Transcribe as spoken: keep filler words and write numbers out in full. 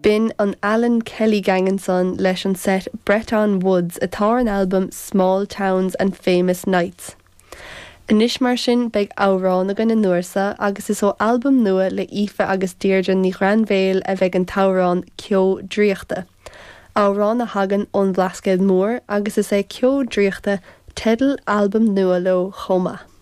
B'in an Alan Kelly Gang ansan leis an set Breton Woods atá ar an albam Small Towns and Famous Nights. Anois mar sin beidh amhrán againn an uair seo agus is ó albam nua le Aoife agus Deirdre Ní Ghrainbhéil a bheidh an t-amhrán Ceo Draíochta. Amhrán a thagann ón Bhlascaod Mór agus is é Ceo Draíochta teideal albam nua leo chomh maith.